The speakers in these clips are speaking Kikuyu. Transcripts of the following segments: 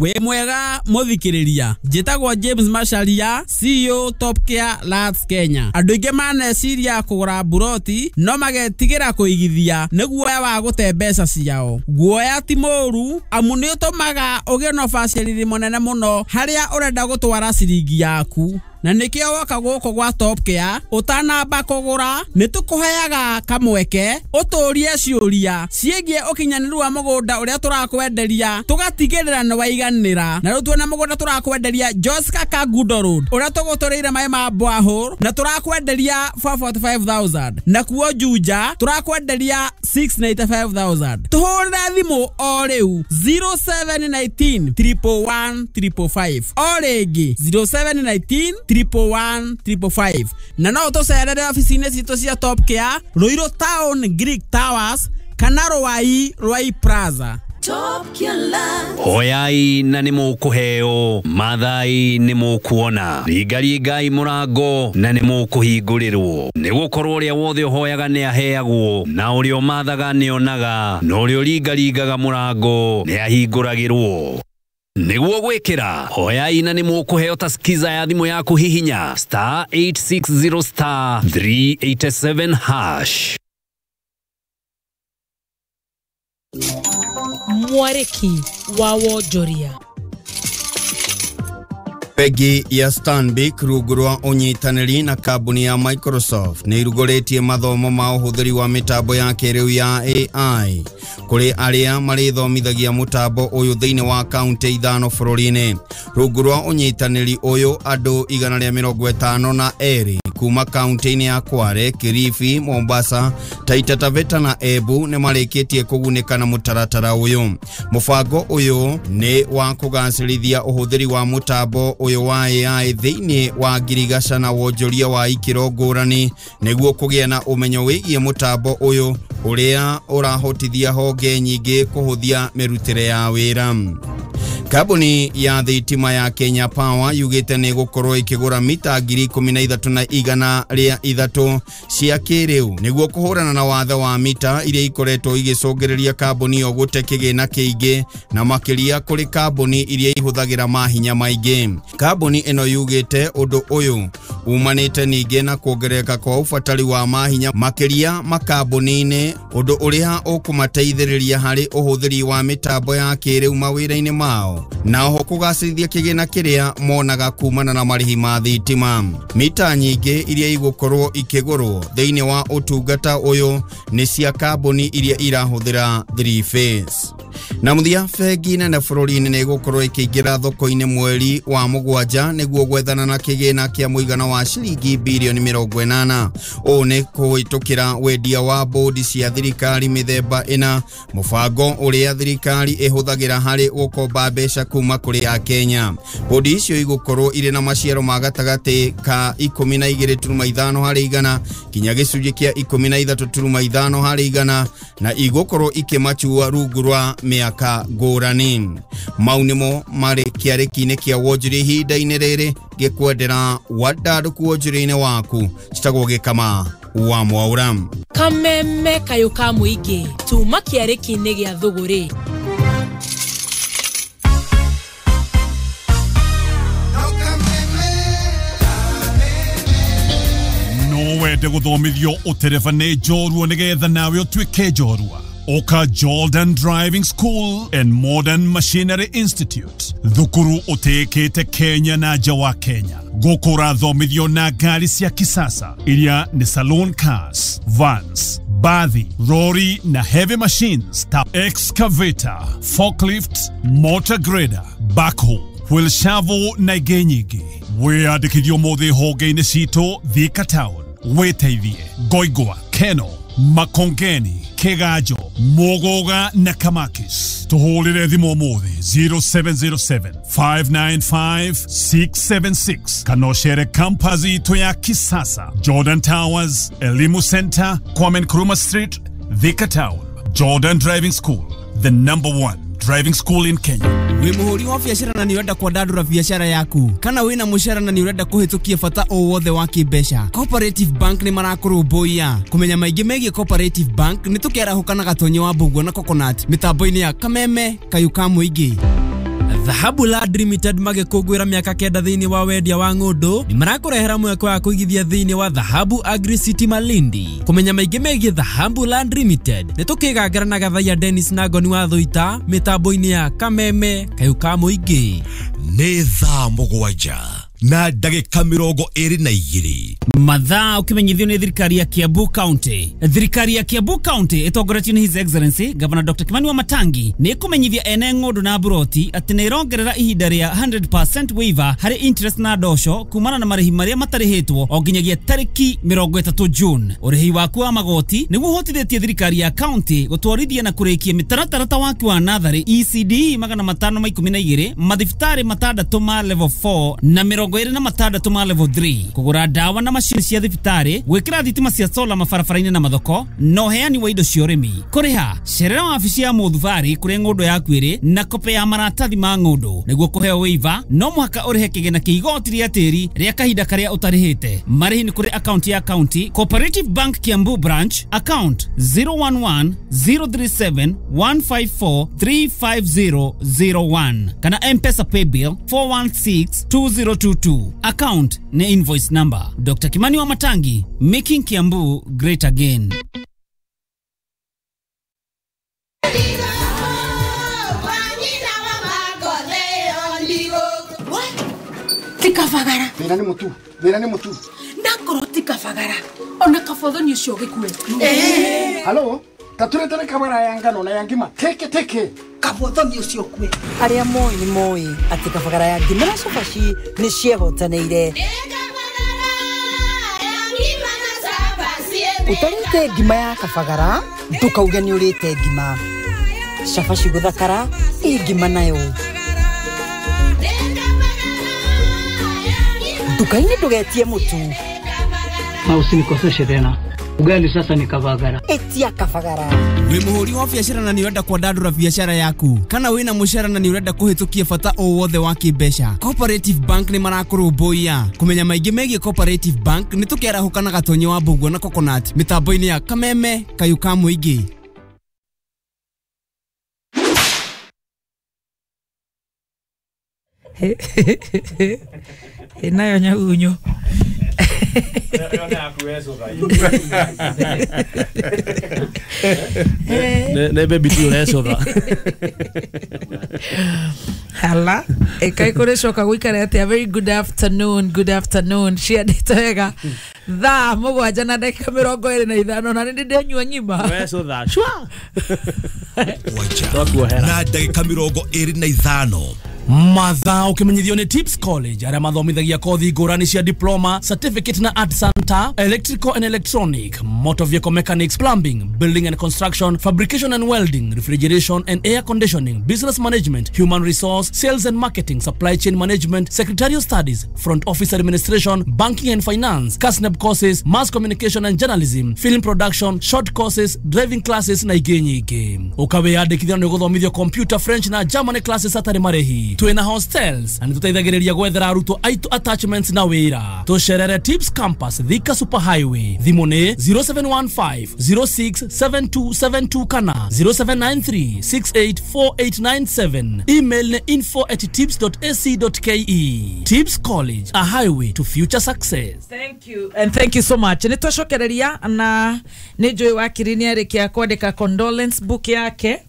Wĩ mwega mũthikĩrĩria, njĩtagwo James Macharia, CEO Top Care Lands Kenya. Andũ aingĩ maneciria kũgũra mburoti no magetigĩra kũigithia nĩ guoya wa gũte mbeca ciao. Guoya ti mũũru amu nĩ ũtũmaga ũgĩe na ũbacĩrĩri mũnene mũno harĩa ũrenda gũtwara ciringi yaku. Na nĩkĩo woka gũkũ gwa Top Care ũtanamba kũgũra nĩ tũkũheaga kamweke ũtũrie ciũria ciĩgiĩ ũkinyanĩru wa mũgũnda ũrĩa tũrakwenderia tũgatigĩrĩra nĩ waiganĩra. Na rĩu tuona mũgũnda tũrakwenderia Joska Kangundo Road ũrĩa tũgũtũrĩire maĩ ma borehole na tũrakwenderia 445,000, nakuo Juja tũrakwenderia 695,000. Tũhũrĩre thimũ o rĩu 0719 111 555, o rĩngĩ 0719 111 555, na no ũtũcerere obici-inĩ citũ cia Top Care Ruiru Town Greek Towers kana Ruai Ruai Plaza. Top Care Land. Hoyai na nĩ mũkũheo, mathai nĩ mũkuona, ringaringai mũrango na nĩ mũkũhingũrĩrwo. Nĩ gũkorwo ũrĩa wothe ũhoyaga nĩ aheagwo, na ũrĩa ũmathaga nĩ onaga, na ũrĩa ũringaringaga mũrango nĩ ahingũragĩrwo. Nĩguo gwĩkĩra hoyai na nĩ mũkũheo ta skiza ya thimũ yaku, hihinya star 860 star 387 hash. Mwarĩki wa wonjoria. Bengi ya Stanbic rungu rwa ũnyitanĩri na kambuni ya Microsoft nĩ irugũrĩtie mathomo ma ũhũthĩri wa mĩtambo ya kĩrĩu ya AI kũrĩ arĩa marĩthomithagia mũtambo ũyũ thĩinĩ wa kaunti 5 bũrũri-inĩ. Rungu rwa ũnyitanĩri ũyũ andũ 152 kuma kaunti-inĩ ya Kwale, Kilifi, Mombasa, Taita Taveta na Embu nĩ marĩkĩtie kũgunĩka na mũtaratara ũyũ. Mũbango ũyũ nĩ wa kũgacĩrithia ũhũthĩri wa mũtambo ũyũ wa AI thĩinĩ wa ngirigaca na wonjoria wa ikĩro ngũrani nĩguo kũgĩa na ũmenyo wĩgiĩ mũtambo ũyũ ũrĩa ũrahotithia honge nyingĩ kũhũthia mĩrutĩre ya wĩra. Kambuni ya thitima ya Kenya Power yugĩte nĩ gũkorwo ĩkĩgũra mita 13,103 cia kĩrĩu nĩguo kũhũrana na wathe wa mita iria ikoretwo igĩcũngĩrĩria kambuni ĩyo gũte kĩgĩna kĩingĩ na makĩria kũrĩ kambuni iria ihũthagĩra mahinya maingĩ. Kambuni ĩno yugĩte ũndũ ũyũ umanĩte ningĩ na kuongerereka kwa ũbatari wa mahinya makĩria makambuni-inĩ, ũndũ ũrĩa ũkũmateithĩrĩria harĩ ũhũthĩri wa mĩtambo ya kĩrĩu mawĩra-inĩ mao na oho kũgacĩrithia kĩgĩna kĩrĩa monaga kumana na marĩhi ma thitima. Mita nyingĩ iria igũkorwo ikĩgũrwo thĩinĩ wa ũtungata ũyũ nĩ cia kambuni iria irahũthĩra 3 phase. Na mũthia, bengi nene bũrũri-inĩ nĩ ĩgũkorwo ĩkĩingĩra thoko-inĩ mweri wa 7 nĩguo gwethana na kĩgĩna kĩa mũigana wa ciringi birioni 80. Ũũ nĩ kũhĩtũkĩra wendia wa bodi cia thirikari mĩthemba ĩna, mũbango ũrĩa thirikari ĩhũthagĩra harĩ gũkomba mbeca kuma kũrĩ Akenya. Bodi icio igũkorwo irĩ na maciaro ma gatagatĩ ka 12.5 harĩ igana kinya gĩcunjĩ kĩa 13.5 harĩ igana na igũkorwo ikĩmachua rungu rwa mĩaka ngũrani. Mau nĩmo marĩ kĩarĩki-inĩ kĩa wonjoria ihinda-inĩ rĩrĩ ngĩkwendera wandandũku wonjoria-inĩ waku. Citagwo Gĩkama wa Mwaura. Kameme kayũ ka mũingĩ tuma kĩarĩki-inĩ gĩa thũgũrĩ. No wende gũthomithio ũtereba nĩ njorua nĩgetha nawe ũtuĩke njorua. Oka Jordan Driving School and Modern Machinery Institute, thukuru ũtĩĩkĩte Kenya na nja wa Kenya. Gũkũ ũrathomithio na ngari cia kisasa iria nĩ saloon cars, vans, bathi, lorry na heavy machines ta excavator, forklift, motor grader, backhoe, wheel shovel na ingĩ nyingĩ. Wĩyandĩkithio ũmũthĩ honge-inĩ citũ Thika Town, wĩteithie Ngoingwa, Keno, Makongeni, Kigajo, Mugoga na Kamakis. Tuhũrĩre thimũ ũmũthĩ 0707 595 676 kana ũcere campus itũ ya kisasa, Jordan Towers, Elimu Center, Kwame Nkrumah Street, Thika Town. Jordan Driving School, the number one driving school in Kenya. Wĩ mũhũri wa biacara na nĩ ũrenda kwandandũra biacara yaku, kana wĩna mũcara na nĩ ũrenda kũhĩtũkia bata o wothe wa kĩmbeca, Cooperative Bank nĩ marakũrũmbũiya. Kũmenya maingĩ megiĩ Cooperative Bank nĩ tũkĩarahũka na Gatonyi wa Mbũguo na Coconut mĩtambo-inĩ ya Kameme kayũ ka mũingĩ. Dhahabu Land Limited magĩkũngũĩra mĩaka 9 thĩinĩ wa wendia wa ng'ũndũ nĩ marakũrehera mweke wa kũigithia thĩinĩ wa Dhahabu Agri City Malindi. Kũmenya maingĩ megiĩ Dhahabu Land Limited nĩ tũkĩgangara na Gathaiya Dennis na Ngoni wa Thũita mĩtambo-inĩ ya Kameme Kayũ ka Mũingĩ. Nĩ thaa 7 na ndagĩka 22. Mathaa ũkĩmenyithio nĩ thirikari ya Kiambu County. Thirikari ya Kiambu County ĩtongoretio nĩ His Excellency Governor Dr. Kimani Wamatangi nĩ ĩkũmenyithia ene ng'ũndũ na mburoti atĩ nĩ ĩrongerera ihinda rĩa 100% waiver harĩ interest na ndosho kumana na marĩhi marĩa matarĩhĩtwo o nginyagia tarĩki 30 June. Ũrĩhi waku wa magoti nĩguo ũhotithĩtie thirikari ya county gũtwarithia na kũrĩkia mĩtaratara ta waki wa natharĩ ECD 512, mathibitarĩ 6 ma level 4 na 26 ma level 3, kũgũra ndawa na macini cia thibitarĩ, gwĩkĩra thitima cia sola mabarabara-inĩ na mathoko, na ũheani wa indo cia ũrĩmi. Kũrĩha cerera wabici ya mũthubarĩ kũrĩa ng'ũndũ yaku ĩrĩ na kope ya maratathi ma ng'ũndũ. Nĩguo kũheo waiver no mũhaka ũrĩhe kĩgĩna kĩa igoti rĩa tĩri rĩa kahinda karĩa ũtarĩhĩte. Marĩhi nĩ kũrĩ akaunti ya county Cooperative Bank Kiambu branch account 011 037 154 35001 kana M-Pesa paybill 416 2022. Account ni invoice number. Dr. Kimani Wamatangi, making Kiambu great again. Tikafagara. Thĩna nĩ mũtu, thĩna nĩ mũtu. Ndakorwo tikafagara. Ona kabothoni ũcio gĩkue. Halo, taturetere kabara ya ngano na ya ngima. Teke teke. Kabothoni ũcio kue. Arĩa moĩ nĩ moĩ atĩ kabagara ya ngima na cabaci nĩ ciehotanĩire. Ũtarĩte ngima ya kabagara ndũkauge nĩ ũrĩte ngima. Cabaci gũthakara ĩ ngima nayo. Nduka-inĩ ndũgetie mũtu. Na usinikoseshe tena. Ugali sasa ni kabagara. Etia kabagara. Wĩ mũhũri wa biacara na nĩ ũrenda kwandandũra biacara yaku, kana wĩna mũcara na nĩ ũrenda kũhĩtũkia bata o wothe wa kĩmbeca, Cooperative Bank nĩ marakũrũmbũiya. Kũmenya maingĩ megiĩ Cooperative Bank nĩ tũkĩarahũka na Gatonye wa Mbũguo na Coconut mĩtambo-inĩ ya Kameme Kayũ ka Mũingĩ. Nayo nyagunyo. Ne baby tu urecotha. Hala, ĩkai kũrĩcoka gũikare atĩa. Very good afternoon, good afternoon. Ciandĩte wega. Thaa 7 na ndagĩka 25 na nĩ ndĩnyua ng'ima. Urecotha. Shwa. Na ndagĩka 25. Mathaa ũkĩmenyithio nĩ Tips College arĩa mathomithagia kothi ngũrani cia diploma, certificate na art center, electrical and electronic, motor vehicle mechanics, plumbing, building and construction, fabrication and welding, refrigeration and air conditioning, business management, human resource, sales and marketing, supply chain management, secretarial studies, front office administration, banking and finance, KASNEB courses, mass communication and journalism, film production, short courses, driving classes na ingĩ nyingĩ. Ũkawĩyandĩkithia nĩ ũgũthomithio computer, French na German classes hatarĩ marĩhi. Twĩna hostels na nĩtũteithagĩrĩria gwethera arutwo aitũ attachments na wĩra. Tũcerere Tips Campus Thika Super Highway. Thimũ nĩ 0715 067272 kana 0793 684897. Email nĩ info@tips.ac.ke. Tips College, a highway to future success. Thank you and thank you so much. Nĩ twacokereria na nĩ njũĩ wakiri nĩ arĩkia kwandĩka condolence book yake.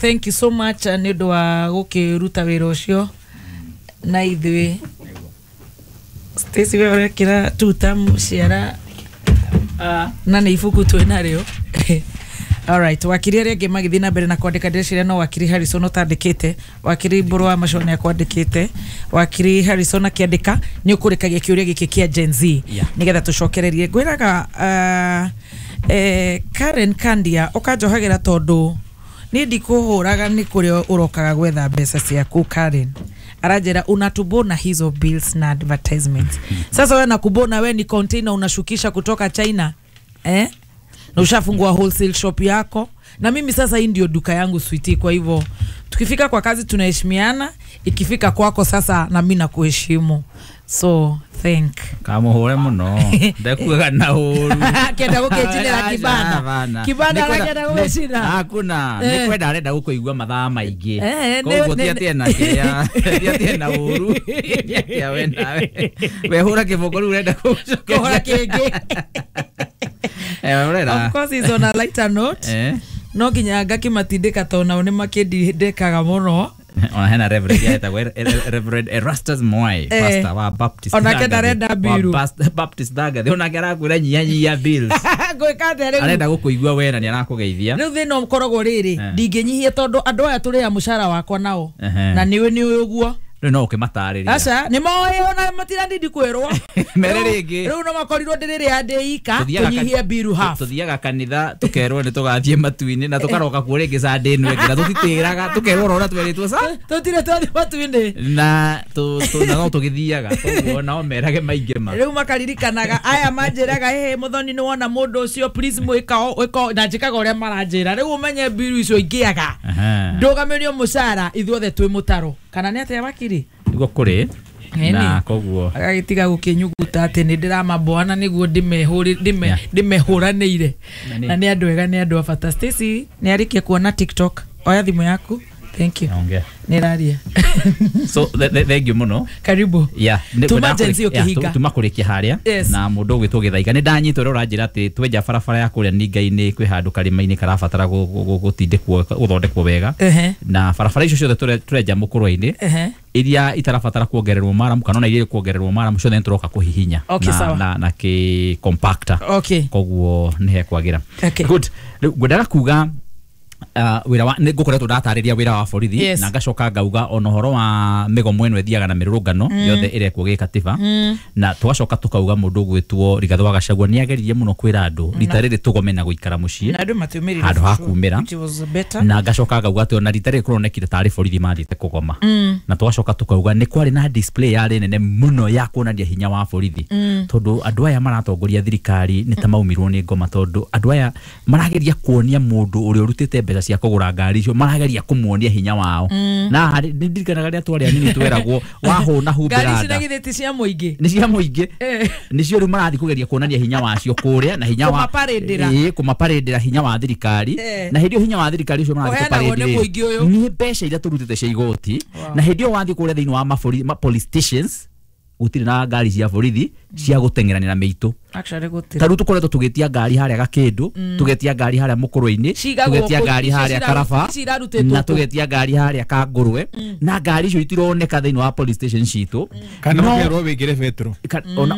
Thank you so much nĩ ũndũ wa gũkĩruta wĩra ũcio na ithuĩ. Stacy we ũrekĩra tuta ciara na nĩ ibuku twĩ narĩo. Alright, wakiri arĩa angĩ magĩthiĩ na mbere na kwandĩka ndĩreciria no wakiri Harrison ũtandĩkĩte, wakiri Mbũrũ wa Macoa nĩ akwandĩkĩte, wakiri Harrison akĩandĩka nĩ ũkũrĩkagia kĩũria gĩkĩ kĩa Gen Z nĩgetha tũcokererie. Ngwĩraga Karen Kandia ũkanjohagĩra tondũ niĩ ndikũhũraga nĩ kũrĩa ũrokaga gwetha mbeca ciaku. Karen aranjĩra unatubona hizo bills na advertisements. Sasa wewe nakubona we ni container unashukisha kutoka China, na ushafungua wholesale shop yako Na mimi sasa hii ndio duka yangu sweetie, kwa hivyo tukifika kwa kazi tunaheshimiana, ikifika kwako sasa na mimi nakuheshimu. So thank kamuhure muno ndekuaga na uru kenda gukichinira kibanda kibanda kenda gukicina hakuna ni kwenda arenda gukuigua mathaa maingi koguo ti atie na kiria ti atie na uru ya we nawe we hura kiboko riu urenda kuhura kingi. Of course is on a lighter note. No nginya ngakimatindika tondũ nao nĩ makĩndindĩkaga mũno. Ona hena Reverend yetagwo Reverend Erastus Mwai, pastor wa Baptist. Ona ke ndarenda biru. Baptist Thagathi onake arakwĩra nyihanyihia bills. Ngwĩka atĩa rĩu? Arenda gũkũigua we na nĩarakũgeithia. Rĩu thĩna ũkoragwo rĩrĩ, ndingĩnyihia tondũ andũ aya tũrĩaga mũcara wakwa nao. Na nĩũĩ nĩũĩ ũguo. Rĩu no ũkĩmatarĩria. Aca, nĩ moĩ ona matiranindi kwĩrwo. Mere rĩngĩ. Rĩu no makorirwo ndĩrĩrĩa ndĩ ika tũnyihie biru half. Tũthiaga kanitha tũkerwo nĩ tũgathiĩ matu-inĩ na tũkaroka kuo rĩngĩ Sunday ĩno ĩngĩ na tũtitĩraga tũkerwo oro ũrĩa twerĩtwo sa. Tũtirĩ twathiĩ matu-inĩ. Na no tũgĩthiaga koguo nao merage maingĩ ma. Rĩu makaririkanaga aya manjĩraga ĩhĩ Muthoni nĩ wona mũndũ ũcio please mwĩka wĩka na njĩkaga ũrĩa maranjĩra. Rĩu ũmenye biru icio ingĩaga. Ndũgamĩrio mũcara ithuothe twĩ mũtaro. Kana nĩ atĩa wakiri? Niguo kũrĩ na koguo agagĩtiga gũkĩnyuguta atĩ nĩ ndĩramaboana nĩguo ndĩmehũranĩire na nĩ andũ ega nĩ andũ a bata. Stacy nĩ arĩkia kuona TikTok, oya thimũ yaku. Thank you. Nĩ raria. So thank you mũno. Karibu. Yeah, tuma Gen Z ũkĩhinga. Tuma kũrĩkia harĩa na mũndũ ũgwĩtwo Gĩthaiga nĩ ndanyitwo ũrĩa ũranjĩra atĩ twenja barabara ya kũrĩa Ninga-inĩ kwĩ handũ karĩma-inĩ karabatara gũtindĩkwo gũthondekwo wega na barabara icio ciothe tũrenja mũkũrwe-inĩ iria itarabatara kuongererwo maramu kana ona iria kuongererwo maramu ciothe nĩtũroka kũhihinya na kĩ compactor. Koguo nĩ hekwagĩra. Good. Rĩu ngwendaga kuga wira wa nĩ ngũkoretwo ndatarĩria wĩra wa borithi na ngacoka ngauga ona ũhoro wa mĩgomo ĩno ĩthiaga na mĩrũrũngano yothe ĩrekwo gĩkatiba na tũgacoka tũkauga mũndũ ũgwĩtwo Rigathĩ wa Gachagua nĩ ageririe mũno kwĩra andũ rita rĩrĩ tũgome na gũikara mũciĩ handũ ha kumĩra na ngacoka ngauga atĩ ona rita rĩrĩ kũronekire tarĩ borithi mathiĩte kũgoma na tũgacoka tũkauga nĩ kwarĩ na display yarĩ nene mũno ya kuonania hinya wa borithi tondũ andũ aya maratongoria thirikari nĩ ta maumirwo nĩ ngoma tondũ andũ aya marageria kuonia mũndũ ũrĩa ũrutĩte mbeca cia kũgũra ngari icio marageria kũmuonia hinya wao na ndirikanaga rĩrĩa twarĩ anini tweragwo wahũna humbĩra ngari ici na githĩ ti cia mũingĩ nĩ cia mũingĩ nĩcio rĩu marathiĩ kũgeria kuonania hinya wacio kũrĩa na hinya wa kũmaparĩndĩra hinya wa thirikari na hĩndĩ ĩyo hinya wa thirikari ũcio marathiĩ kũparĩndĩra nĩ mbeca iria tũrutĩte cia igoti na hĩndĩ ĩyo wathiĩ kũrĩa thĩinĩ wa police stations gũtirĩ na ngari cia borithi cia gũteng'eranĩra mĩitũ. Ta rĩu tũkoretwo tũgĩtia ngari harĩa Gakĩndũ, tũgetia ngari harĩa Mũkũrwe-inĩ, tũgetia ngari harĩa Karaba na tũgetia ngari harĩa Kangũrwe na ngari icio itironeka thĩinĩ wa police station citũ. Kana ũkerwo wĩkĩre betũrũ.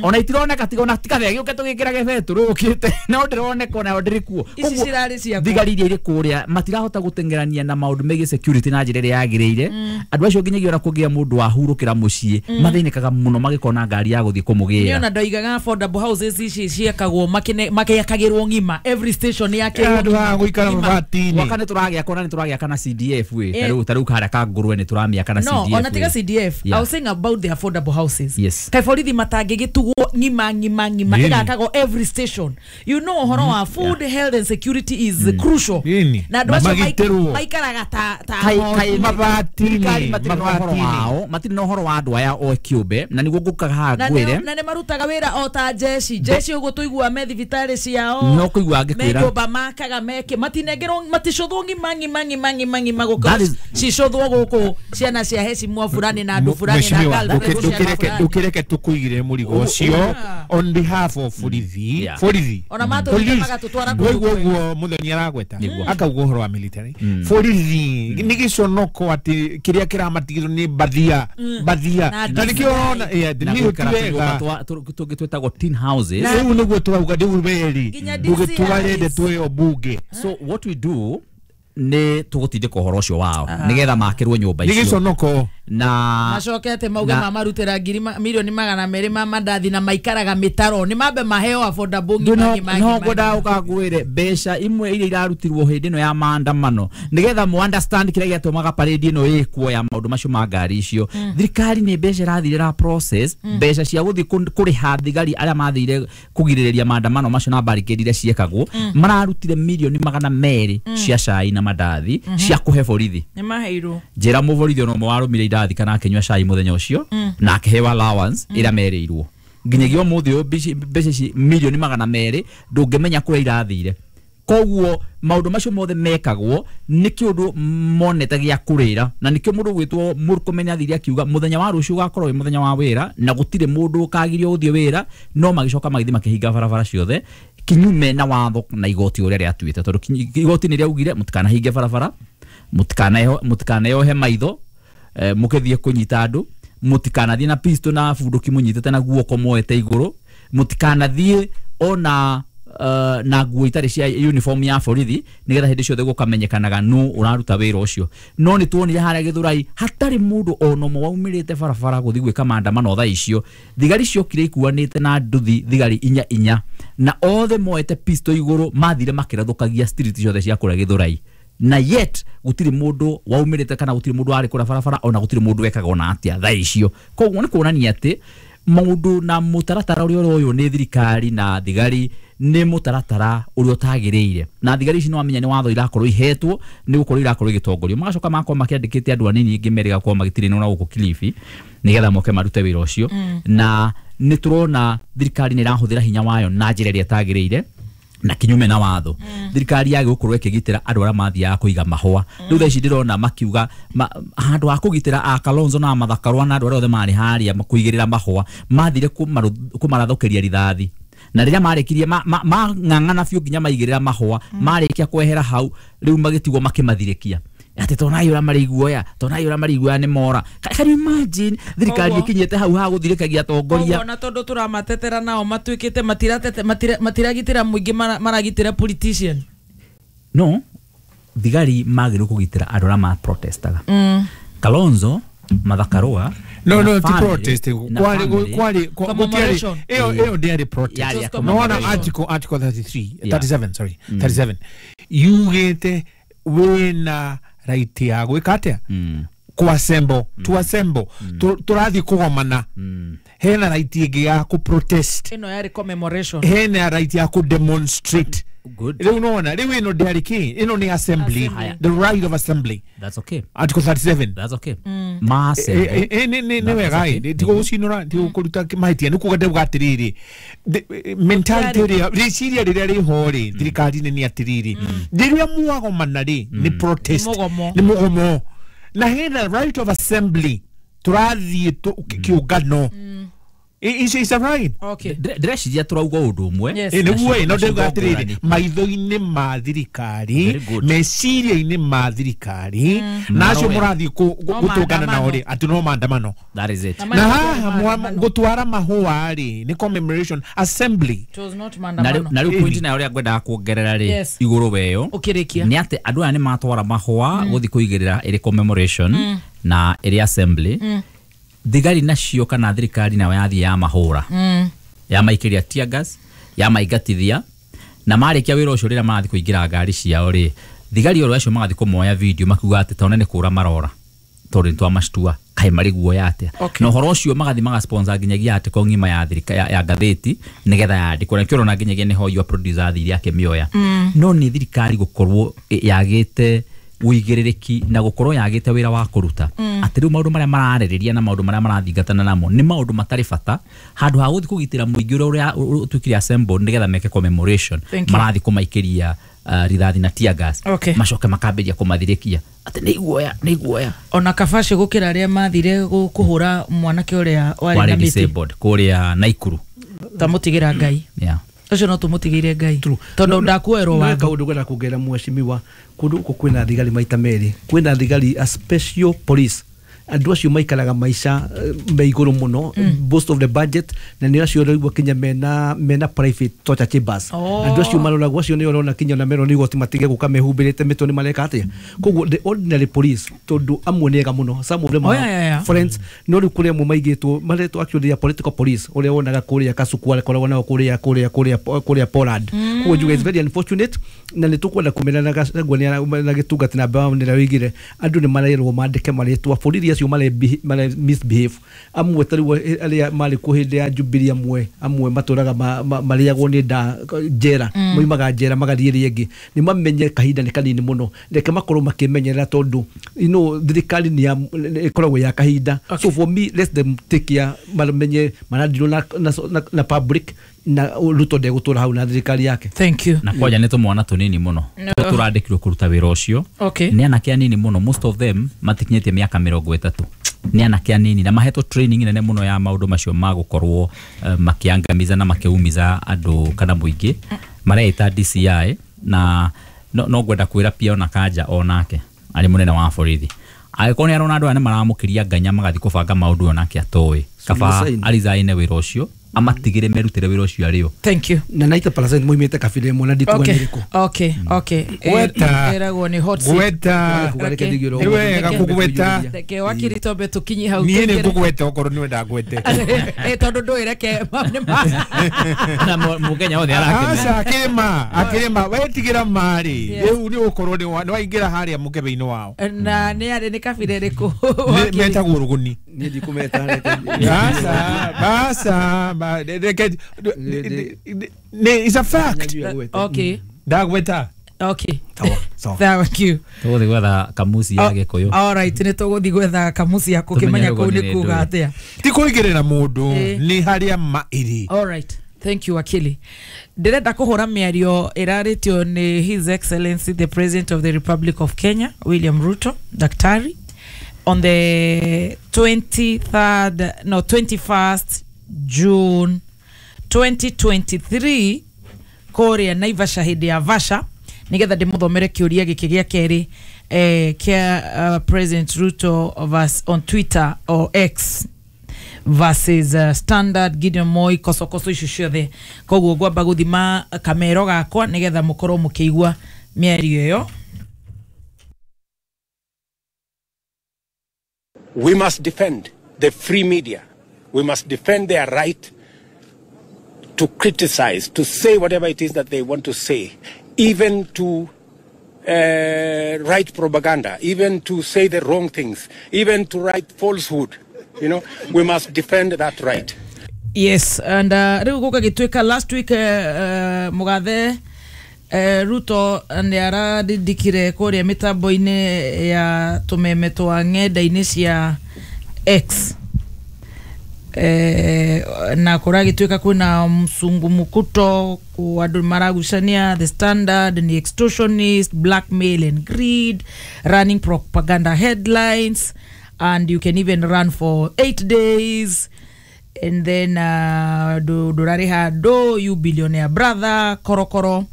Ona itironeka tiga ona tikabe gĩũke tũgĩkĩrage betũrũ ũkĩte no ndĩroneka ona ndĩrĩ kuo. Ici cirarĩ ciakwa. Thigari iria irĩ kũrĩa matirahota gũteng'erania na maũndũ megiĩ security na njĩra ĩrĩa yagĩrĩire. Andũ acio nginyagia ona kũngĩa mũndũ wahurũkĩra mũciĩ mathĩnĩkaga mũno magĩkona ngari ya gũthiĩ kũmũgĩra. Niĩ ona ndoigaga affordable houses ici ciakagwo makĩakagĩrwo ng'ima every station yakĩrwo andũ ha gũikara mabati-inĩ. Gwaka nĩ tũragĩaka ona nĩ tũragĩaka na CDF ĩ ta rĩu harĩa Kangũrwe nĩ tũramĩaka na CDF. No, ona tiga CDF. I was saying about the affordable houses. Yes. Kaĩ borithi matangĩgĩtugwo ng'ima ng'ima ng'ima ĩgakagwo every station. You know ũhoro wa food, health and security is crucial. Na andũ acio maikaraga ta mabati-inĩ matirĩ na ũhoro wa andũ aya o kĩũmbe na nĩguo ngũkaga haha ngwĩre na nĩ marutaga wĩra o ta jeshi jeshi ũguo tũigua me thibitarĩ ciao no kũigua ngĩkwĩra me nyũmba makaga meke matinengerwo maticũthwo ng'ima ng'ima ng'ima ng'ima ng'ima gũka cicũthwo gũkũ ciana cia heshimwa fulani na andũ fulani na girlfriend. Ndũkĩreke tũkũigĩre mũrigo ũcio on behalf of borithi borithi ona matũrire magatũtwara kũndũ ũguo Muthoni aragweta akauga ũhoro wa military borithi nĩ gĩconoko atĩ kĩrĩa kĩramatigĩrwo nĩ bathia bathia na nĩkĩo ũrona nĩ wega tũngĩ twĩtagwo tin houses rĩu nĩguo tũrauga rĩu weri ndũgĩtwarende twĩyo bunge. So what we do nĩ tũgũtindĩka ũhoro ũcio wao nĩgetha makĩrwo nyũmba icio nĩ gĩconoko Na macoke ate mauge mamarutĩra ngiri milioni 200 ma mandathi na maikaraga mĩtaro nĩ mambe maheo affordable ngima ngima. No ngwendaga ũkangwĩre mbeca imwe iria irarutirwo hĩndĩ ĩno ya maandamano nĩgetha mu understand kĩrĩa gĩatũmaga parade ĩno ĩkwo ya maũndũ macio ma ngari icio. Thirikari nĩ mbeca ĩrathire ra process mbeca cia gũthiĩ kũrĩha thigari arĩa mathire kũgirĩrĩria maandamano macio na barricade iria ciekagwo mararutire milioni 200 cia cai na mandathi cia kũhe borithi. Nĩ maheirwo njĩra mũborithi ona ũmwe warũmire indathi kana akĩnyua cai mũthenya ũcio na akĩheo allowance ĩrĩa merĩirwo nginyagia ũmũthĩ ũyũ mbeca ici milioni 200 ndũngĩmenya kũrĩa irathire. Koguo maũndũ macio mothe mekagwo nĩ kĩũndũ monete gĩa kũrĩra na nĩkĩo mũndũ gwĩtwo Murkomen athire akiuga mũthenya wa rũciũ ũgakorwo wĩ mũthenya wa wĩra na gũtirĩ mũndũ ũkagirio gũthiĩ wĩra, no magĩcoka magĩthiĩ makĩhinga barabara ciothe kinyume na watho na igoti ũrĩa rĩatuĩte tondũ igoti nĩ rĩaugire mũtikanahinge barabara, mũtikanayohe maitho mũkĩthiĩ kũnyita andũ, mũtikanathiĩ na pistol na bunduki mũnyitĩte na guoko moete igũrũ, mũtikanathiĩ ona na nguo itarĩ cia uniform ya borithi nĩgetha hĩndĩ ciothe gũkamenyekanaga nũ ũraruta wĩra ũcio. No nĩ tuonire harĩa Gĩthũrai hatarĩ mũndũ ona ũmwe waumĩrĩte barabara gũthiĩ gwĩka maandamano thaa icio. Thigari ciokire ikuanĩte na nduthi thigari 4 na othe moete pistol igũrũ mathire makĩrathũkagia street ciothe cia kũrĩa Gĩthũrai na yet gũtirĩ mũndũ waumĩrĩte kana gũtirĩ mũndũ warĩ kũrĩa barabara ona gũtirĩ mũndũ wekaga ona atĩa thaa icio. Koguo nĩ kuonania atĩ maũndũ na mũtaratara ũrĩa ũroywo nĩ thirikari na thigari nĩ mũtaratara ũrĩa ũtagĩrĩire na thigari ici nĩwamenya nĩ watho irakorwo ihetwo nĩ gũkorwo irakorwo igĩtongorio magacoka magakorwo makĩandĩkĩte andũ anini ingĩ merĩga gũkorwo magĩtirĩnwo na gũkũ Kilifi nĩgetha moke marute wĩra ũcio. Na nĩ tũrona thirikari nĩ ĩrahũthĩra hinya wayo na njĩra ĩrĩa ĩtagĩrĩire na kinyume na watho. Thirikari yage gũkorwo ĩkĩgitĩra andũ arĩa mathiaga kũiga mahũa. Rĩu thaa ici ndĩrona makiuga handũ ha kũgitĩra a Kalonzo na Martha Karua na andũ arĩa othe marĩ harĩa kũigĩrĩra mahũa mathire kũmarathũkĩria rithathi na rĩrĩa marĩkirie mang'ang'ana biũ nginya maigĩrĩra mahũa marĩkia kwehera hau rĩu magĩtigwo makĩmathirĩkia atĩ tonai ũrĩa marĩ iguoya tonai ũrĩa marĩ iguoya nĩ mora. Can you imagine thirikari ĩkinyĩte hau ha gũthirĩkagia atongoria? Ona tondũ tũramatetera nao matuĩkĩte matiragitĩra mũingĩ maragitĩra politician. No thigari magĩrĩirwo kũgitĩra andũ arĩa ma protestaga. Kalonzo, Martha Karua no ti protest kwari gũtiarĩ ĩyo ndĩarĩ protest. No ona article 33 37 sorry 37 yugĩte wĩna right ya gwĩka atĩa kuassemble to assemble tũrathiĩ kũgomana hena right ĩngĩ ya kũ protest ĩno yarĩ commemoration hena right ya kũ demonstrate. Rĩu nona rĩu ĩno ndĩarĩ kĩ ĩno nĩ assembly, the right of assembly. That's okay. Article 37. That's okay. Ma assembly nĩ wega ĩ tigo gũcinũra tigo kũruta mahĩtia nĩ kuga ndauga atĩrĩrĩ mentality ĩrĩa rĩciria rĩrĩa rĩho rĩ thirikari-inĩ nĩ atĩrĩrĩ rĩrĩa mwagomana rĩ nĩ protest nĩ mũgomo na hena right of assembly tũrathiĩ kĩũngano. Is that right? Okay. Ndĩreciria tũrauga ũndũ ũmwe. Nĩguo ĩ no ndauga atĩrĩrĩ maitho-inĩ ma thirikari meciria-inĩ ma thirikari na acio mũrathiĩ gũtũngana nao rĩ atĩ no maandamano. That is it. Na haha gũtwara mahũa rĩ nĩ commemoration assembly. It was not maandamano. Na rĩu point nayo ũrĩa ngwendaga kuongerera rĩ igũrũ weyo nĩ atĩ andũ aya nĩ matwara mahũa gũthiĩ kũigĩrĩra ĩrĩ commemoration na ĩrĩ assembly. Thigari nacio kana thirikari nayo yathiĩ ya mahũra ya maikĩria tear gas ya maingatithia na marĩkia wĩra ũcio rĩrĩa marathiĩ kũingĩra ngari ciao rĩ thigari oro acio magathiĩ kũmoya video makiuga atĩ tona nĩ kũra marora tondũ nĩtwamactua kaĩ marĩ guoya atĩa. Na ũhoro ũcio magathiĩ magasponsor nginyagia article ng'ima ya thirika ya ngathĩti nĩgetha yandĩkwo na nĩkĩo ũrona nginyagia nĩho your producer athire akĩmĩoya. No nĩ thirikari gũkorwo yagĩte uigĩrĩrĩki na gũkorwo yagĩte wĩra wa kũruta atĩ rĩu maũndũ marĩa mararĩrĩria na maũndũ marĩa marathingatana namo nĩ maũndũ matarĩ bata handũ ha gũthiĩ kũgitĩra mũingĩ ũrĩa ũtuĩkire assemble nĩgetha meke commemoration marathiĩ kũmaikĩria rithathi na tear gas macoke makambĩrĩria kũmathirĩkia atĩ nĩ iguoya nĩ iguoya. Ona kabaci gũkĩra arĩa mathire kũhũra mwanake ũrĩa warĩ na mĩtĩ disabled kũrĩa Naikuru tamũtigĩra Ngai. Ũcio no tũmũtigĩire Ngai tondũ ndakuoerwo watho. Kaũndũ ngwenda kuongerera mheshimiwa kũndũ gũkũ kwĩna thigari maita merĩ kwĩna thigari a special police Andũ acio maikaraga maica me igũrũ mũno, most of the budget, na nĩ acio ũraigua kinya mena private torture chambers. Andũ acio maroragwo, acio nĩ ũrona kinya na merwo nĩ igoti matige gũka mehumbĩrĩte mĩtwe nĩ mareka atĩa. Koguo the ordinary police, tondũ amwe nĩ ega mũno, some of them are friends, no rĩu kũrĩ amwe maigĩtwo maretwo actually a political police, ũrĩa wonaga kũrĩa Kasuku akoragwo nao kũrĩa kũrĩa kũrĩa kũrĩa Poland. Koguo njuge it's very unfortunate, na nĩ tũkwenda kũmenya na Gachagua na gĩtungati na Brown nĩrĩa oigire andũ nĩ marerwo mandĩke marĩtwa borithi acio mare misbehave. Amwe ta rĩu arĩa marĩ kuo hĩndĩ ya Jubilee, amwe matũraga marĩagwo nĩ nda njera, moimaga njera magathiĩ ĩrĩa ĩngĩ. Nĩ mamenye kahinda nĩ kanini mũno, reke makorwo makĩmenyerera, tondũ thirikari nĩ ĩkoragwo ya kahinda. So for me, let them take care, mamenye maradirwo na public, na Ruto ndegũtũra hau na thirikari yake. Thank you. Na kwanja nĩ tũmwana tũnini mũno tũrandĩkirwo kũruta wĩra ũcio. Nĩ anake anini mũno, most of them matikinyĩtie mĩaka 30. Nĩ anake anini na mahetwo training nene mũno ya maũndũ macio ma gũkorwo makĩangamiza na makĩumiza andũ kana mũingĩ. Mareita DCI na no ngwenda kwĩra pia ona Kanja onake arĩ mũnene wa borithi, angĩkorwo nĩ arona andũ aya nĩ maramũkĩria nganya magathiĩ kũbanga maũndũ onake atoĩ, kaba arizaine wĩra ũcio, amatigire merutire wĩra ũcio arĩo. Thank you. Na 90% moimĩte kabira ĩmwe na ndikuga nĩ ĩrĩkũ. Okay. Ĩragwo nĩ hot seat. Gweta. Nĩ wega kũgweta. Reke wakiri tombe tũkinye hau. Niĩ nĩ ngũgweta okorwo nĩ wenda ngwete. Tondũ ndũĩ reke na mũkenya othe arakena. Aca akĩrĩma wetigĩra marĩ. Rĩu nĩ ũkorwo nĩ waingĩra harĩa mũkebe-inĩ wao. Na nĩ arĩ nĩ kabira ĩrĩkũ? Metagwo rũgũni. Niĩ ndikũmeta. Aca it's a fact. Okay. Ndagweta. Okay. Thank you. Tũgũthiĩ gwetha kamusi ya Gĩkũyũ. All right, nĩ tũgũthiĩ gwetha kamusi ya kũkĩmenya kũu nĩ kuga atĩa. Ti kũigĩrĩra mũndũ, nĩ harĩa ma ĩrĩ. All right. Thank you, Wakili. Ndĩrenda kũhũra mĩario ĩrarĩtio nĩ His Excellency the President of the Republic of Kenya, William Ruto, Daktari, on the 21st June 2023 kũrĩa Naivasha hĩndĩ ya Vasha, nĩgetha ndĩmũthomere kĩũria gĩkĩ gĩa kerĩ kĩa President Ruto on Twitter or X versus Standard Gideon Moi kosokoso icio ciothe. Koguo ngwamba gũthima kamero gakwa nĩgetha mũkorwo mũkĩigua mĩario ĩyo. We must defend the free media. We must defend their right to criticize, to say whatever it is that they want to say, even to write propaganda, even to say the wrong things, even to write falsehood. You know, we must defend that right. Yes, and rĩu gũgagĩtuĩka last week mũgathe Ruto nĩ ararindikire kũrĩa mĩtambo-inĩ ya tũmeme twa ng'enda-inĩ cia X. Na kũragĩtuĩka kwĩna msungumukuto, andũ maragucania the Standard ni extortionist, blackmail and greed, running propaganda headlines, and you can even run for 8 days, and then ndũrarĩha ndũ, you billionaire brother korokoro.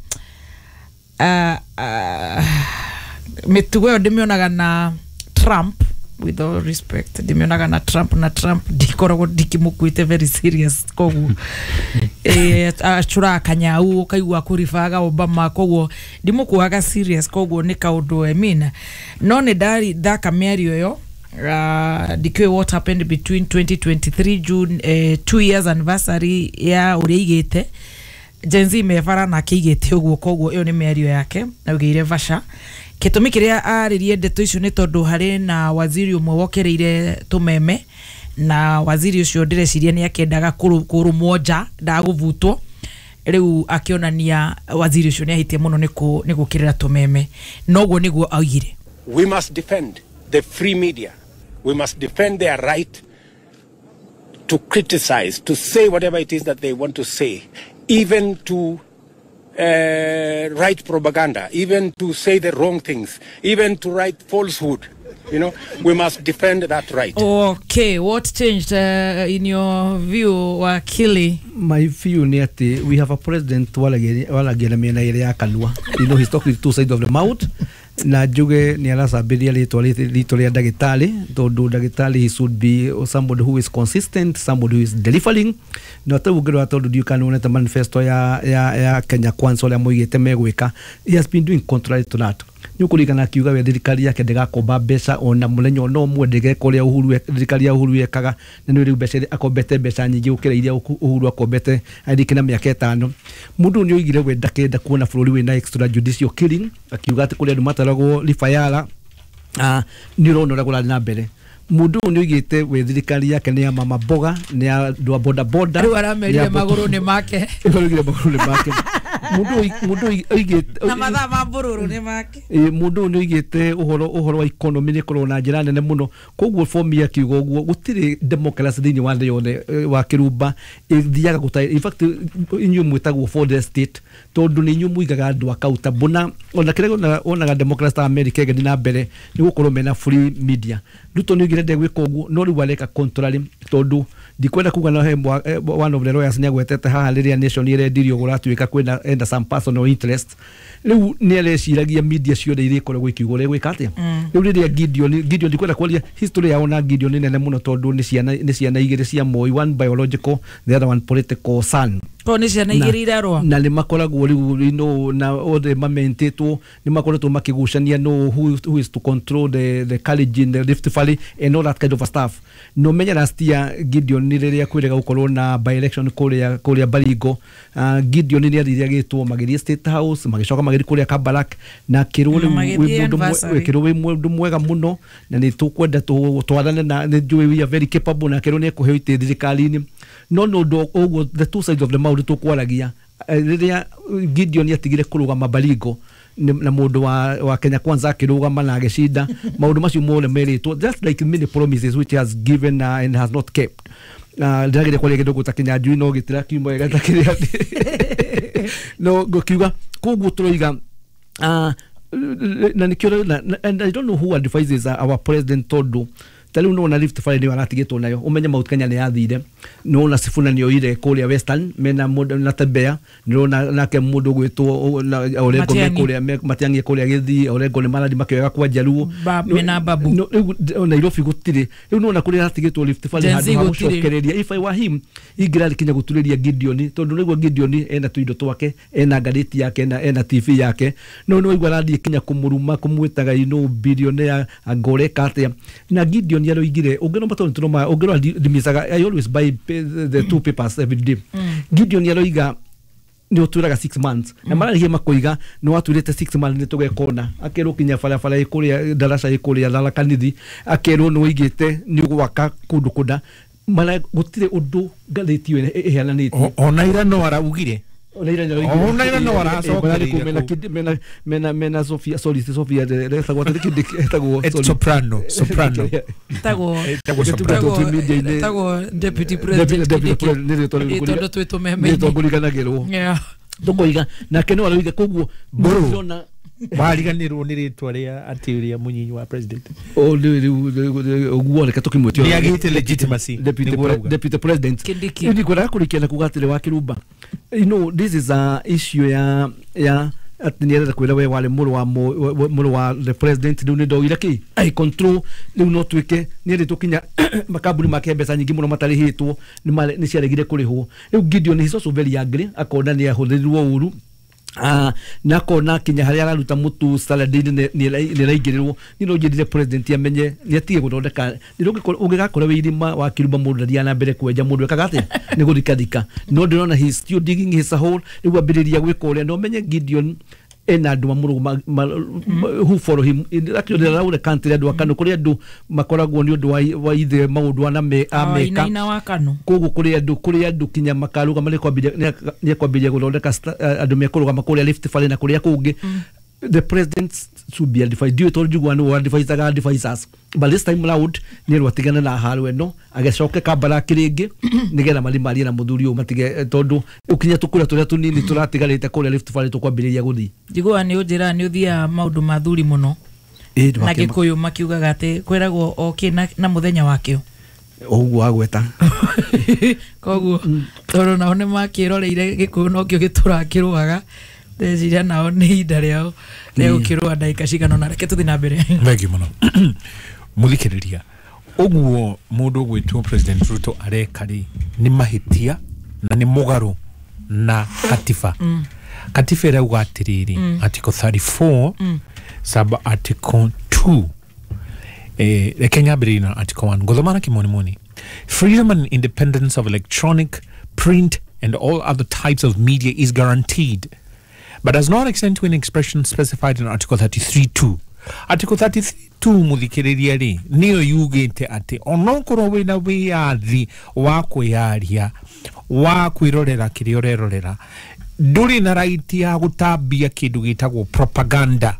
Mĩtugo ĩyo ndĩmĩonaga na Trump, with all respect, ndĩmĩonaga na Trump, na Trump ndikoragwo ndikĩmũkuĩte very serious, koguo acũraga kanyau ũkaigua kũribaga Obama, koguo ndimũkuaga serious, koguo nĩ kaũndũ I mean. No nĩ ndari thaka mĩario ĩyo, ndikĩũĩ what happened between 2023 June 2 years anniversary ya ũrĩa aigĩte Gen Z mebara na akĩigĩte ũguo, koguo ĩyo nĩ mĩario yake augĩire Vasha. Gĩtũmi kĩrĩa arĩrie ndeto icio nĩ tondũ harĩ na waziri ũmwe wokereire tũmeme, na waziri ũcio ndĩreciria nĩ akĩendaga kũrũmwo nja ndagũbutwo. Rĩu akĩonania waziri ũcio nĩ ahĩtie mũno nĩ gũkĩrĩra tũmeme, noguo nĩguo augire. We must defend the free media. We must defend their right to criticize, to say whatever it is that they want to say, even to write propaganda, even to say the wrong things, even to write falsehood. You know, we must defend that right. Okay, what changed in your view, Wakili? My view ni ati we have a president walagia na mĩena ĩrĩa ya kanua. You know, he's talking two sides of the mouth. Na njuge nĩ aracambĩria rĩtwa ritũ rĩa ndagĩtarĩ, tondũ ndagĩtarĩ, he should be somebody who is consistent, somebody who is delivering. Na ta ũngĩrora, tondũ ndiũĩ kana nĩwonete manifesto ya Kenya Kwanza, ũrĩa moigĩte megwĩka, he has been doing contrary to that. Nĩ ũkũririkana akiuga we thirikari yake ndĩgakomba mbeca ona mũthenya ona ũmwe, ndĩgeka ũrĩa Uhuru thirikari ya Uhuru yekaga. Na nĩ rĩu mbeca akombete mbeca nyingĩ gũkĩra iria Uhuru akombete arĩki na mĩaka 5. Mũndũ ũyũ nĩ oigire we ndakenda kuona bũrũri wĩna extrajudicial killing, akiuga atĩ kũrĩ andũ mataragwo ribayara. Nĩ ũrona ũrĩa kũrathiĩ na mbere. Mũndũ ũyũ nĩ oigĩte we thirikari yake nĩ ya mama mboga, nĩ ya andũ a boda boda. Rĩu aramerire magũrũ nĩ make. Araugire magũrũ nĩ make. Mũndũ ũyũ oigĩte na mathaa ma mbũrũrũ nĩ make. Mũndũ ũyũ nĩ oigĩte ũhoro wa economy nĩ ĩkorwo na njĩra nene mũno. Koguo for me, akiuga ũguo, gũtirĩ democracy thĩinĩ wa thĩ yothe, wa kĩrumba ĩthiaga gũta. In fact, inyuĩ mwĩtagwo for the state tondũ nĩ inyuĩ mũigaga andũ accountable. Na ona kĩrĩa wonaga democracy ta America ĩgĩthiĩ na mbere nĩ gũkorwo mena free media. Ruto nĩ oigire ndegwĩka ũguo, no rĩu areka contrary, tondũ ndikwenda kuga no he one of the lawyers nĩ agwetete haha rĩrĩa Nation ĩrendirio gũratuĩka kwĩna enda some personal interest. Rĩu nĩ areciragia media ciothe iria ikoragwo ikiuga ũrĩa gwĩka atĩa. Rĩu rĩrĩa Gideon, ndikwenda kwaria history yao na Gideon nĩ nene mũno, tondũ nĩ ciana igĩrĩ cia Moi, one biological, the other one political son. Ko nĩ ciana igĩrĩ irarũa. Na nĩ makoragwo rĩu na othe mamentĩtwo, nĩ makoretwo makĩgucania no who is to control the college in the Rift Valley and all that kind of stuff. No menya last year Gideon nĩ rĩrĩa kwĩrĩga gũkorwo na by election kũrĩa Baringo, Gideon nĩ athire agĩtwo, magĩthiĩ State House, magĩcoka magĩthiĩ kũrĩa Kabarak, na akĩrwo Na rĩu magĩthiĩ wĩ mũndũ anniversary. Wĩkĩrwo wĩ mũndũ mwega mũno na nĩ tũkwenda twathane na nĩ njũĩ we are very capable, na akĩrwo nĩ ekũheo itĩ thirikari-inĩ. No nĩ ũndũ ũguo, the two sides of the mouth tũkwaragia. Rĩrĩa Gideon atigire kũrũgama Baringo na mũndũ wa Kenya Kwanza akĩrũgama na agĩcinda, maũndũ macio mothe merĩtwo, just like many promises which he has given and has not kept. Ndĩrageria kwaria kĩndũ ta Kĩnyanjui no gĩtira kiuma wega ta kĩrĩa no ngũkiuga. Koguo tũroiga na nĩkĩo and I don't know who advises our president, tondũ ta rĩu nĩwona Rift Valley nĩyo aratigĩtwo nayo. Ũmenye Mount Kenya nĩ yathire, nĩwona Sifuna nĩ oire kũrĩa Western mena mũndũ na Tembea, nĩwona nake mũndũ ũgwĩtwo Orengo me Matiang'i. kũrĩa Matiang'i kũrĩa Gĩthii, Orengo nĩ marathiĩ makĩoyaga kwa Njaruo. Mena Babu. No, rĩu Nairobi gũtirĩ. Rĩu nĩwona kũrĩa aratigĩtwo Rift Valley Gen Z handũ ha gũtirĩ. gũcokereria. If I were him, ingĩrarĩ kinya gũturĩria Gideon, tondũ nĩguo Gideon ena tũindo twake, ena ngathĩti yake, ena TV yake, no nĩ waigua arathiĩ kinya kũmũruma, kũmwĩtaga billionaire, anga ũreka atĩa. Na Gideon aroigire ũngĩrora, tondũ tũroma ũngĩrora ndimicaga, I always buy the two papers every day. Gideon aroiga nä å twä raga 6 months na mararĩhia makoiga nä watwä rä te 6 months nä tå gekona. Akerwo kinya barabara ä kå rä a ndaraca ä kå rä a Tharaka Nithi, akerwo nä waigä te nä å gwaka kå ndå kå na mara gå tirä å ndå ngathä ti ä yo ĩheananĩtie. Ona ira no araugire. Ona ira nĩ Ona ira no aracokereire mena kũu. Mena Sofia, sorry, si Sofia etagwo atĩ kĩndĩ etagwo, sorry. Soprano, soprano. Etagwo Etagwo soprano. Etagwo deputy president Deputy Kindiki. president, nĩ rĩtwa Ĩ, tondũ twĩ tũmeme-inĩ. rĩtwa ngũriganagĩrwo. Tũkoiga nake no aroiga koguo Mbũrũ. ndĩrona Wariganĩrwo nĩ rĩtwa rĩa atĩ ũrĩa mũnyinyi wa president. O rĩu ũguo reke tũkĩmwĩte Nĩ agĩte legitimacy, deputy nĩguo arauga. Deputy president Kindiki. Rĩu ngwendaga kũrĩkia na kuga atĩrĩ, wa kĩrumba, this is a issue ya atĩ nĩ arenda kwĩra we warĩ mũrũ wa mũrũ wa the president, rĩu nĩ ndogire kĩ I control. Rĩu no tuĩke nĩ erĩtwo kinya makambuni make mbeca nyingĩ mũno matarĩhĩtwo nĩ ciaregire kũrĩhwo. Rĩu Gideon is also very angry, akona nĩ ahũthĩrirwo ũru. Na akona kinya harĩa araruta mũtu salad-inĩ nĩ ĩraingĩrĩrwo. Niĩ no njĩrire president amenye nĩ atige gũthondeka nĩ ũngĩgakora wĩ irima wa kĩrumba, mũndũ ndathiaga na mbere kwenja, mũndũ ekaga atĩa nĩ gũthikathika. No ndĩrona he is still digging his hole. Rĩu ambĩrĩria gwĩka ũrĩa, na ũmenye Gideon ena andũ mamũrũma who follow him. Actually around the country, andũ akano kũrĩ andũ makoragwo nĩ ũndũ wa ithe maũndũ ana ameka. Wainaina wa Kanu. Koguo kũrĩ andũ kinya makarũgama, nĩ ekwambĩrĩria gũthondeka andũ mekũrũgama kũrĩa Rift Valley na kũrĩa kũngĩ. The president should be advised. Ndiũĩ tondũ njiguaga nĩwe advisaga advisors, but this time round nĩ erwo atigane na haro ĩno, agĩcoke Kabaraki rĩngĩ nĩgetha mathiĩ marie na mũthuri ũyũ matige, tondũ ũkinya tũkũrĩa tũrĩa tũnini tũratigarĩte kũrĩa Rift Valley tũkwambĩrĩria gũthiĩ. Njiguaga nĩ ũnjĩraga nĩ ũthiaga maũndũ ma thuri mũno. Ĩ, Na Gĩkũyũ makiugaga atĩ kwĩragwo o kĩ na mũthenya wakĩo. Ũguo agweta. Koguo tondũ nao nĩ makĩroreire Gĩkũyũ nokĩo gĩtũraga kĩrũaga. Ndeciria nao nĩ ihinda rĩao rĩa gũkĩrũa ndagĩka cigana ũna, reke tũthiĩ na mbere. Thengiũ mũno. Mũthikĩrĩria, ũguo mũndũ ũgwĩtwo President Ruto areka rĩ, nĩ mahĩtia na nĩ mũgarũ na katiba. Katiba ĩrauga atĩrĩrĩ, article 34 sub article 2, reke nyambĩrĩrie na article 1, ngũthoma na kĩmonimoni. Freedom and independence of electronic, print and all other types of media is guaranteed, but does not extend to any expression specified in Article 33.2. Article 33.2 muthikiriria ri niyo yugite ati onokorwo wina wiyathi wa kwiyaria, wa kwirorera kiria urerorera, nduri na right ya gutambia kindu gitagwo propaganda.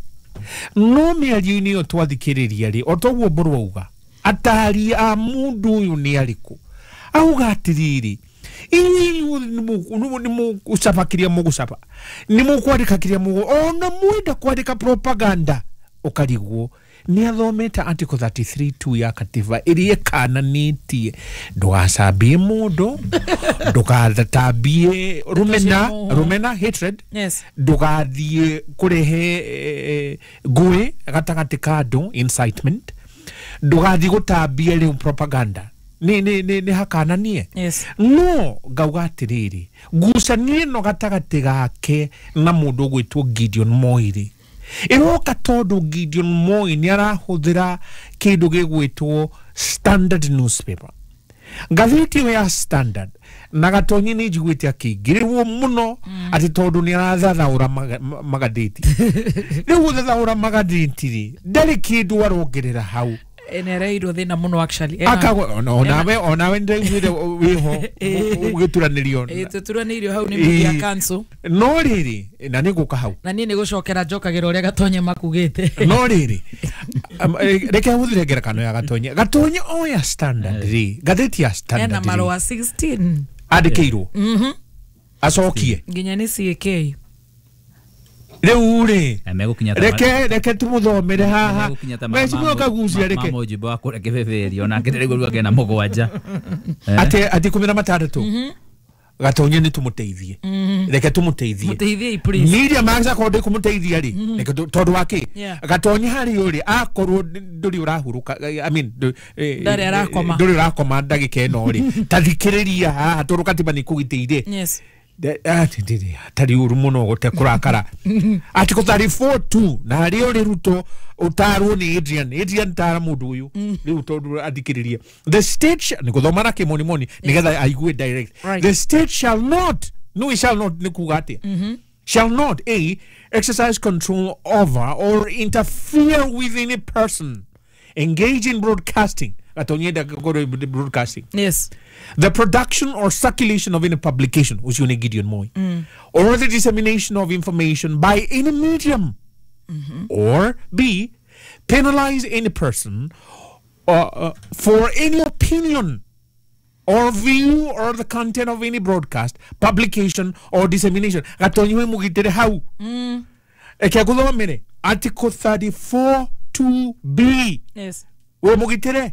No mĩario-inĩ ĩyo twathikĩrĩria rĩ, o toguo Mbũrũ auga, atari a mũndũ ũyũ nĩ arĩkũ? Auga atĩrĩrĩ, inyuĩ nĩ mũgũcaba kĩrĩa mũgũcaba, nĩ mũkwandĩka kĩrĩa mũgũ, ona mwenda kwandĩka propaganda ũkarigwo. Nĩ athomete article 33.2 ya katiba ĩrĩa ĩkananĩtie ndũgacambie mũndũ, ndũgatambie rũmena, hatred, Yes. ndũgathiĩ kũrehe ngũĩ gatagatĩ ka andũ, incitement, ndũgathiĩ gũtambia rĩu propaganda. Nĩ hakananie. Yes. No ngauga atĩrĩrĩ, ngucanio ĩno gatagatĩ gake na mũndũ ũgwĩtwo Gideon Moi rĩ, ĩroka tondũ Gideon Moi nĩ arahũthĩra kĩndũ gĩgwĩtwo Standard newspaper, ngathĩti ĩyo ya Standard, na Gatonyi nĩ njiguĩte akĩingĩrĩrwo mũno atĩ tondũ nĩ arathathaũra magathĩti. Rĩu gũthathaũra magathĩti rĩ, ndarĩ kĩndũ arongerera hau. Nĩareirwo thĩna mũno actually. Onawe nĩndaiguire wĩho ũgĩturanĩrio. Tũturanĩirio hau nĩ media council. No rĩrĩ, na nĩngũka hau. Na niĩ nĩgũcokera njokagĩra ũrĩa Gatonye makugĩte. No rĩrĩ, reke hũthĩre ngerekano ya Gatonye. Gatonye oya Standard rĩ, ngathĩti ya Standard Ena rĩ, marũa 16 andĩkĩirwo acokie nginya nĩ CAK. Rĩu rĩ, reke tũmũthomere haha. Mheshimiwa Kagucia, reke mamũjumbe wa kũrĩa kĩbĩbĩri onake ndĩraigua rĩu akena mũgwanja atĩ 16. Gatonye nĩ tũmũteithie, reke tũmũteithie. Mũteithiei please. Media Max akorwo ndĩkũmũteithia rĩ, reke tondũ wa kĩ? Gatonye harĩ ũrĩ akorwo ndũrĩ ũrahurũka, I mean Ndarĩ arakoma. ndũrĩ ũrakoma ndagĩka ĩno rĩ, ta thikĩrĩria haha tondũ katiba nĩ ĩkũgitĩire. Yes. Tarĩ ũru mũno gũte kũrakara. Article 34.2 na harĩa ũrĩ Ruto ũtarwo nĩ Adrian. Adrian tara mũndũ ũyũ rĩu tondũ athikĩrĩrie. The state nĩ gũthoma na kĩmonimoni nĩgetha aigue direct. Right. The state shall not, no it shall not nĩ kuga atĩa? Shall not A, exercise control over or interfere with any person engaged in broadcasting. Gatonye ndagakorwo broadcasting. Yes. The production or circulation of any publication, ũcio nĩ Gideon Moi, or the dissemination of information by any medium, or B, penalize any person for any opinion or view or the content of any broadcast, publication or dissemination. Gatonye we mũgitĩre hau. Eke ngũthomere article 34.2b. Yes. We mũgitĩre.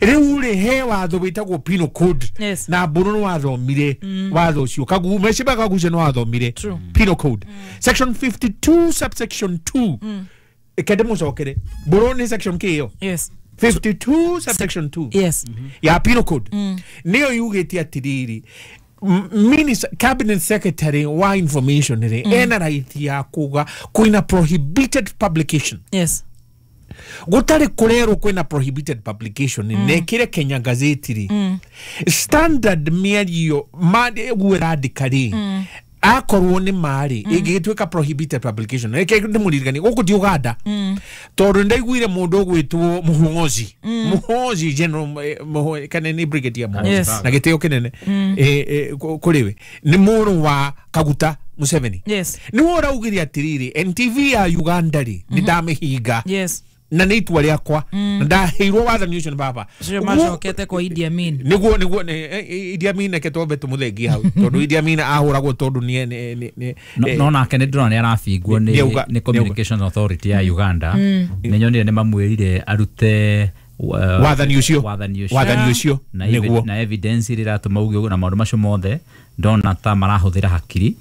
Rĩu rĩ, he watho wĩtagwo penal code. Yes. Na Mbũrũ nĩ wathomire watho ũcio, Mheshimiwa Kagucia nĩ wathomire penal code section 52 subsection 2. Eke ndĩmũcokere, Mbũrũ, nĩ section kĩ ĩyo? Yes. 52 subsection 2. Yes. Ya penal code nĩyo yugĩte atĩrĩrĩ, minister, cabinet secretary wa information rĩ, ena right ya kuga kwĩna prohibited publication. Yes. Gũtarĩ kũrerwo kwĩna prohibited publication, nekĩre Kenya gazeti rĩ, Standard mĩario ũguo ĩrandĩka rĩ, akorwo nĩ marĩ ĩngĩgĩtuĩka prohibited publication. Reke ndĩmũririkanie gũkũ ti Uganda, tondũ nĩndaiguire mũndũ ũgwĩtwo Muhoozi, Muhoozi general, kana nĩ brigadier Muhoozi, Yes. na gĩtĩo kĩnene kũrĩ we, nĩ mũrũ wa Kaguta Museveni. Yes. Nĩwe ũraugire atĩrĩrĩ, NTV ya Uganda rĩ, nĩ ndamĩhinga. Yes. Na nĩ itua rĩakwa, na ndaheirwo wathani ũcio nĩ baba. Ũcio macokete kwa Idi Amin. Nĩguo Idi Amin, reke twambe tũmũthengie hau tondũ Idi Amin ahũragwo tondũ nĩ No nake nĩ ndĩrona nĩ arabingwo nĩ Communications Authority ya Uganda. Nĩ nyonire nĩ mamwĩrire arute Wathani ũcio. Wathani ũcio. Wathani ũcio, nĩguo. Na evidence ĩrĩa ĩratũma uge ũguo na maũndũ macio mothe, ndona ta marahũthĩra hakiri.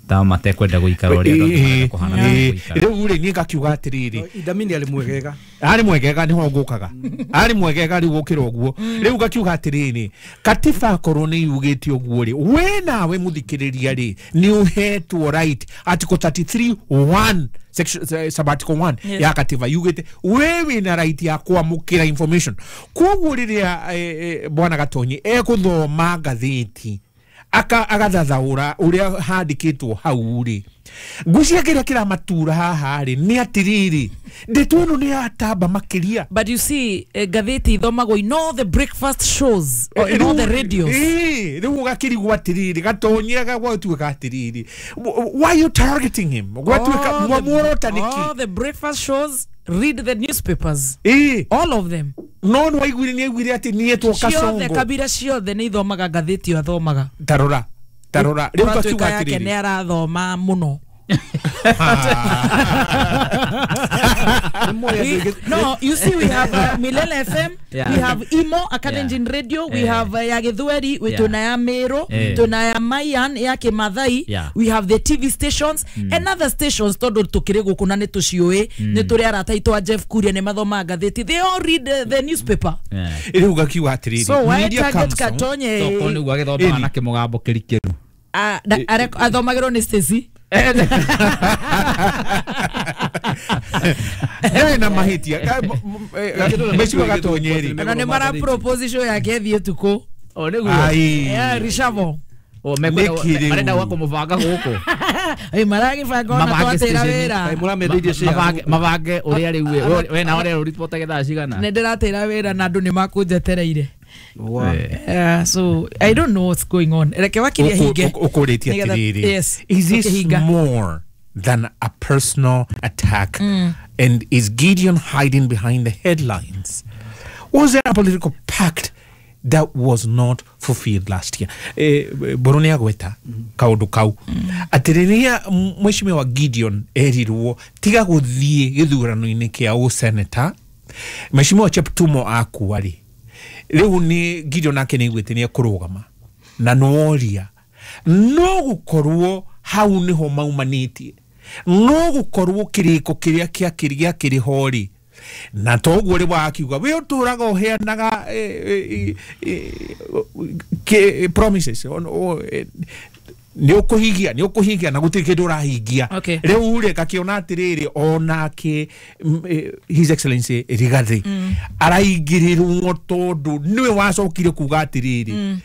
Ta matekwenda guikara uria andu angĩ marenda kũhana gũikara. Rĩu rĩ niĩ ngakiuga atĩrĩrĩ, Idamini arĩ mwegega, arĩ mwegega nĩho ngũkaga, arĩ mwegega rĩu gũkĩra ũguo. Rĩu ngakiuga atĩrĩrĩ, katiba akorwo nĩ yugĩte ũguo rĩ, we nawe mũthikĩrĩria rĩ nĩ ũhetwo right article 33(1) section sub article 1 Yes. ya katiba yugĩte we wĩna right ya kwamũkĩra information. Koguo rĩrĩa bwana Gatonyi egũthoma ngathĩti agathathaũra ũrĩa handĩkĩtwo hau rĩ, ngwĩciria kĩrĩa kĩramatura haha rĩ nĩ atĩrĩrĩ, ndeto ĩno nĩ yatamba makĩria. But you see, ngathĩti ithomagwo in all the breakfast shows or in all the radios. Rĩu ũgakĩrigwo atĩrĩrĩ, Gatonyi gwatuĩka atĩrĩrĩ, why you targeting him? Gwatuĩka muorota nĩkĩ? All the breakfast shows, read the newspapers. All of them. No nĩ waiguire, nĩ aiguire atĩ niĩtwo Ciothe Kasongo. kabira ciothe nĩ ithomaga ngathĩti ĩyo athomaga. Tarora tarora rĩu Ũratuĩka ngakiuga yake atĩrĩrĩ, nĩ arathoma mũno. No, you see, we have Milele FM, Yeah. we have Imo Akalenjin Radio, we have ya Gĩthweri, we tuna ya Meru, tuna ya Mayan ya Kĩmathai, we have the TV stations and other stations tondu tukiri guku na nĩ tũciũĩ, nĩ tũrĩ arata aitũ a Jeff Kuria nĩ mathomaga ngathĩti, they all read the newspaper. Rĩu ngakiuga atĩrĩrĩ, So why media target council- Gatonye? Tokorwo nĩguo agĩthomaga na kĩmũgambo kĩrikĩru. Athomagĩrwo nĩ Stacy. Ndarĩ na mahĩtia. Mheshimiwa Gatonye rĩ, Na nĩ mara propose show yake ĩthiĩ ũtukũ. O nĩguo. Ai. Yeah, reshuffle. O mekwenda Nĩkĩ rĩu? marenda gwa kũmũbanga gũkũ. Ĩ maragĩbanga ona Mabange twatĩra station. wĩra. Mabange ũrĩa rĩu we na ũrĩa ũripotaga thaa cigana. Nĩ ndĩratĩra wĩra na andũ nĩ makũnjetereire. So I don't know what's going on. Reke wakiria hinge. Ũkũrĩtie Nĩgetha- atĩrĩrĩ, Yes. is this Ũkĩhinga. more than a personal attack? And is Gideon hiding behind the headlines? Was there a political pact that was not fulfilled last year? Mbũrũ nĩ agweta kaũndũ kau atĩ rĩrĩa mheshimiwa Gideon erirwo tiga gũthiĩ gĩthurano-inĩ kĩa ũseneta, mheshimiwa Cheptumo akua rĩ, rĩu nĩ Gideon nake nĩ aiguĩte nĩ ekũrũgama na nĩworia no gũkorwo hau nĩho maumanĩtie, no gũkorwo kĩrĩko kĩrĩa gĩakĩrĩ ho rĩ, na toguo rĩ wakiuga we ũtũraga ũheanaga promises nĩ ũkũhingia, nĩ ũkũhingia na gũtirĩ kĩndũ ũrahingia. Okay. Rĩu rĩ ngakĩona atĩrĩrĩ, onake His Excellency Rigathi araingĩrĩrwo tondũ nĩwe wacokire kuga atĩrĩrĩ,